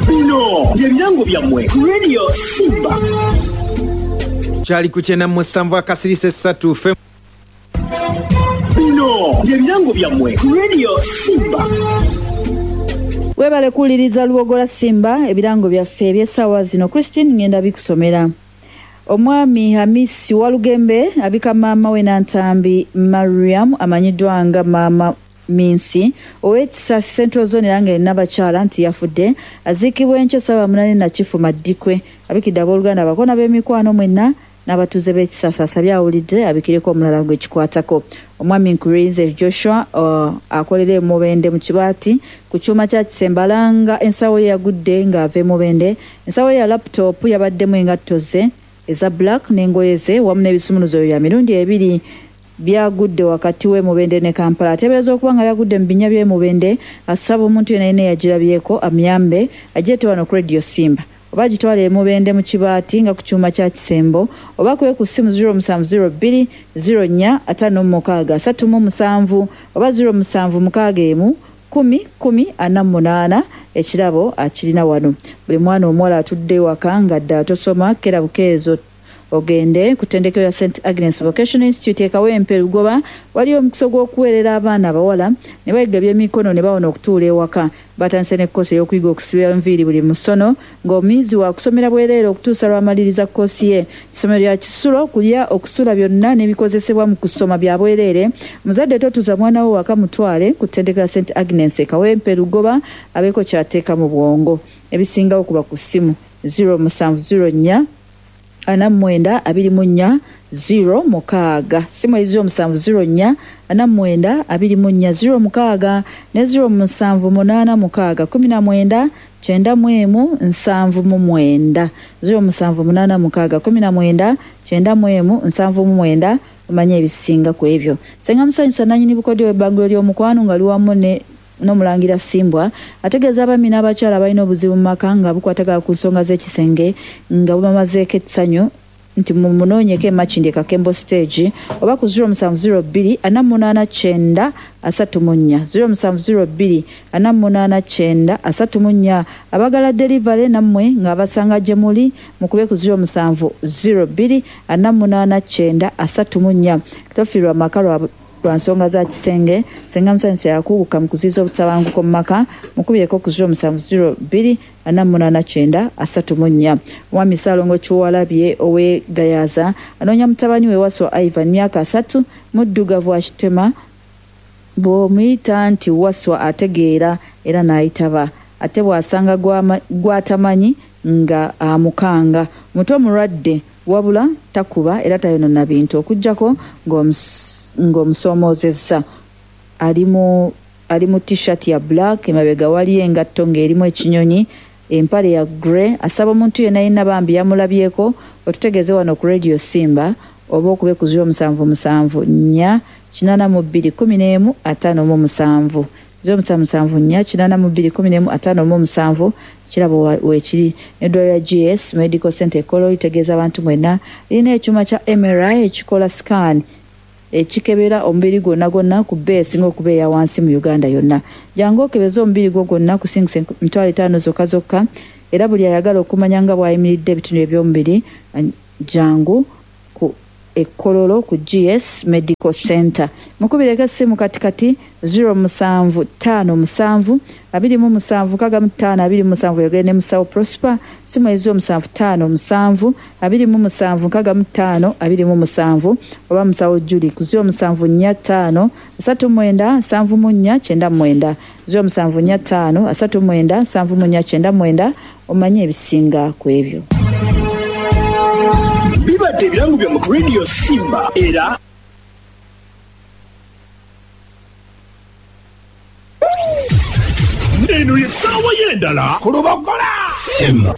Bino bye birango byammwe ku Radio Simba. Kyali ku 97 akasirisa esatu fe. Bino bye birango byammwe ku Radio Simba. Webale kuwuliriza Luwogola Simba, ebirango byaffe eby'essaawa zino. Christine ngenda bikusomera. Omwami Hamisi Walugembe abika maama we Nantambi Mariam amanyiddwa nga Maama Minsi ow'Ekisasi Central Zone era nga erina abakyala nti yafudde. Aziikibwa enkya ssaawa 8 Nakifu Maddikwe. Abikidde abooluganda, abakona b'emikwano mwenna n'abatuuze b'Ekisasi. Asabye awulidde abikireko omulala gwekikwatako. Omwami Nkurinze Joshua akolera e Mubende mu Kibaati ku kyuma kya Kisemba alanga ensawo ye yagudde ng'ava e Mubende. Ensawo ye ya laptop yabaddemu engatto ze eza black n'engoye ze wamu n'ebisumuluzo bya mirundi ebiri byagudde wakati w'e Mubende ne Kampala. Ateebereza okuba nga byagudde mu binnya by'e Mubende. Asaba omuntu yenna yenna eyagirabyeko amuyambe agyete wano ku Radio Simba oba agitwale e Mubende mu Kibaati nga ku kyuma kya Kisembo oba akube ku ssimu 0702 04 56 37 oba 0761 10 10 48. Ekirabo akirina wano. Buli mwana omuwala atudde ewaka nga ddala tosoma, kera bukeezo ogende ku ttendekero ya St Agnes Vocational Institute e Kawempe Lugoba. Waliyo omukisa ogw'okuweerera abaana abawala ne bayiga ebyemikono ne bawona okutuula ewaka. Batandise ne kkoosi ey'okuyiga okusiba enviiri buli musono ng'omuyizi waakusomera bwereere okutuusa lw'amaliriza kkoosi ye. Essomero lya kisulo, okulya, okusula byonna n'ebikozesebwa mu kusoma bya bwereere. Muzadde totuuza mwana wo waka, mutwale ku ttendekero ya St Agnes e Kawempe Lugoba abeeko ky'ateeka mu bwongo. Ebisingawo kuba ku ssimu 0704 49 24 06. Ssimu eri 0704 49 24 06 ne 0786 19 91 79. 0786 19 91 79. Omanye ebisinga ku ebyo. Ssenga Musanyusa nannyini bukodyo w'ebbangulo ly'omukwano nga liwamu ne n'omulangira Ssimbwa ategeeza abaami n'abakyala abalina obuzibu mu maka nga bukwatagana ku nsonga z'ekisenge nga bubamazeeko essanyu nti mumunoonyeko e Makindye Kakembo Stage oba ku 0702 48 90 34, 0702 48 90 34. Abagala delivery nammwe ng'abasanga gye muli mukube ku 0702 48 90 34. Tofiirwa maka lwa lwa nsonga za kisenge. Ssenga Musanyusa yakuguka mu kuziyiza obutabanguko mu maka. Mukubireko ku 0702 48 90 34. Omwami Ssaalongo Kiwalabye ow'e Gayaza anoonya mutabani we Wasswa Ivan, myaka 30, muddugavu akitema. Bw'omuyita nti Wasswa ategeera era n'ayitaba ate bw'asanga gw'atamanyi nga amukanga. Muto mulwadde wabula takuba era tayonoona bintu okuggyako ng'omusoomoozezza. Ali mu ali mu t-shirt ya black, emabega waliyo engatto ng'erimu ekinyonyi, empale ya grey. Asaba omuntu yenna yenna bambi yamulabyeko otutegeeze wano ku Radio Simba oba okube ku 0774 82 11 57, 0774 82 11 57. Kirabo weekiri. N'eddwaliro lya GS Medical Center e Kololo litegeeza abantu mwenna lirina ekyuma kya MRI ekikola scan ekikebera omubiri gwonna gwonna ku bbeeyi esinga okuba eya wansi mu Uganda yonna. Jangu okebeze omubiri gwo gwonna kusingisa 50,000 zokka zokka era buli ayagala okumanya nga bw'ayimiridde ebitundu eby'omubiri jangu ku e Kololo ku GS Medical Center. Mukubireko essimu kati kati 0757 27 65 27 oyogere ne musawo Prosper. Ssimu eri 0757 27 65 27 oba musawo Julie ku 0745 39 74 99, 0745 39 74 99 omanye ebisinga ku ebyo. Bibadde ebirango byammwe ku Radio Simba era eno ye ssaawa y'endala ku Lubogola. Simba.